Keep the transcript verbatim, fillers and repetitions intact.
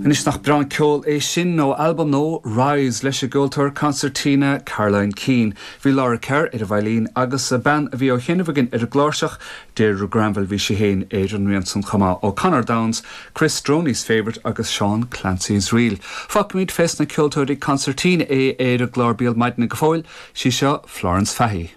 Anois nach breá an ceol é sin ó albam nua Rise leis an gceoltóir concertina Caroline Keane. Bhí Laura Kerr ar an veidhlín agus a bean a bhí ó chinnehagin ar an gcláirseach Deirdre Granville bhí sí féin ar an rian san chomh maith ó Conor Downes, Chris Droney's Favourite agus Sean Clancy's Reel. Fágfaimid fés na ceoltóirí concertina é ar an gclár Béal Maidine go fóill, sí seo Florence Fahey.